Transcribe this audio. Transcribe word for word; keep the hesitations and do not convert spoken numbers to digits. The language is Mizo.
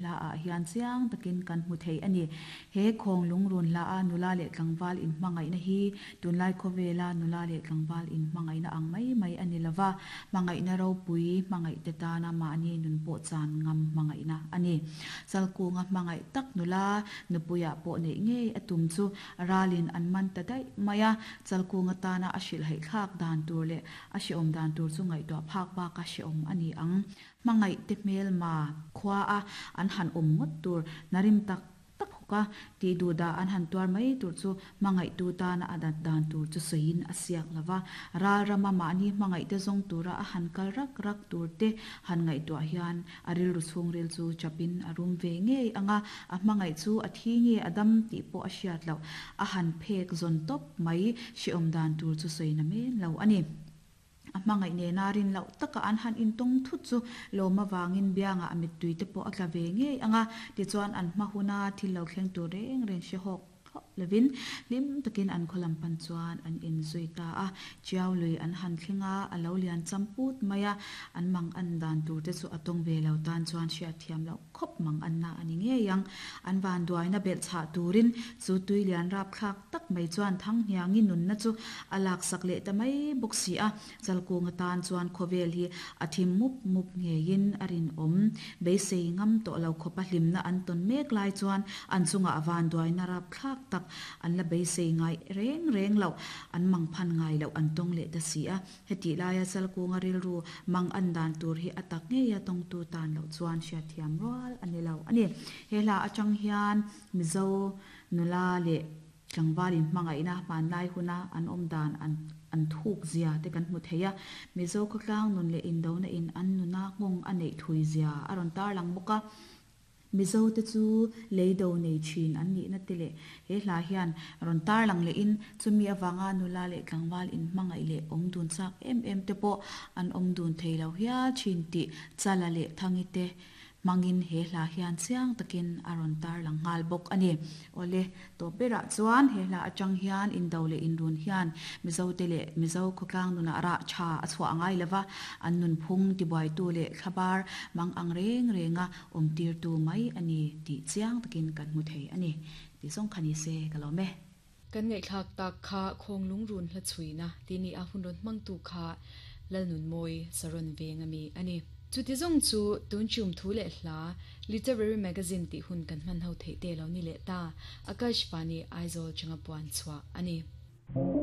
Hla ah hian chiang takin kan hmu thei a ni. He Khawnglung Run hla a nula leh tlangval inhmangaihna hi tunlai khawvela nula leh tlangval inhmangaihna ang mai mai a ni lova, hmangaihna ropui, hmangaihte tana mahni nun pawh chan ngam hmangaihna a ni. Chalkunga hmangaih tak nula nupuiah pawh neih ngei a tum chu ralin an man ta daih mai a, Chalkunga tana a hrilhhaih thlak dan tur leh a hrehawm dan tur chu ngaihtuah phak baka hrehawm a ni ang. Hmangaihte hmelma khua a an han awm ngawt tur hnarim tak tak hawk a, tih duh dah an han tuar mai tur chu hmangaihtu tana a dat dan tur chu sawiin a siak lo va. Ral rama mahni hmangaihte zawng tura a han kal rak rak tur te han ngaihtuah hian a rilru chhungril chu chapin a rum ve ngei ang a, a hmangaih chu a thi nge a dam tih pawh a hriat loh a han phek zawn tawp mai hrehawm dan tur chu sawi na men lo a ni. A hmangaih nena rin loh taka an han intawng thut chu lawm avangin biangah a mittui te pawh a tla ve ngei ang a, tichuan an hma huna thil lo thleng tur reng reng hrehawk hauh lovin hlim takin an khaw lam pan chuan an inzui ta a. Chiau lui an han thleng a, a lo lian cham put mai a, an mang an dan tur te chu a tawng ve lo tan chuan hriatthiam loh khawp mang anna a ni ngei ang. An vanduaina belh chhah turin chu tui lian rapthlak tak mai chuan Thanghniangi nunna chu a laksak leh ta mai bawk si a. Chalkung atan chuan khawvel hi a thim mup mup ngeiin a rinawm. Beisei ngam tawh lo khawpa hlimna an tawn mek lai chuan an chungah vanduaina rapthlak tak an la beisei ngai reng reng loh, an mang phan ngai loh an tawng leh ta si a. Hetih laia Chalkunga rilru mang an dan tur hi a tak ngeia tawngtu tan loh chuan hriatthiam rual a ni lo a ni. He hla atang hian Mizo nula leh tlangval inhmangaihna hmanlai huna an awm dan an an thuk zia te kan hmu thei a. Mizo khawtlang nun leh indona in an nuna nghawng a neih thui zia a rawn tarlang bawk a. Mizo te chu lei do nei thin an nihna te leh he hla hian rawn tarlang lehin chumi avanga nula leh tlangval inhmangaih leh awm dun chak em em te pawh an awm dun thei lo hial thin tih Chala leh Thangi te hmangin he hla hian chiang takin a rawn tarlang nghal bawk a ni. Awle, tawp berah chuan he hla atang hian indo leh inrun hian Mizote leh Mizo khawtlang nunah rah tha a chhuah ngai lova, an nunphung tibuaitu leh thlabar mang ang reng renga awmtirtu mai a ni tih chiang takin kan hmu thei a ni. Tih zawng kha ni se ka lawm e. Kan ngaihthlak tak kha Khawnglung Run hla chhuina tih ni a hun rawn hmangtu kha Lalnunmawi Saron veng ami a ni. Chuti zawng chu tun chum thu leh hla Literary Magazine tih hun kan hman ho theih te lo ni leh ta. Akashvani Aizawl changa puan chhuah a ni.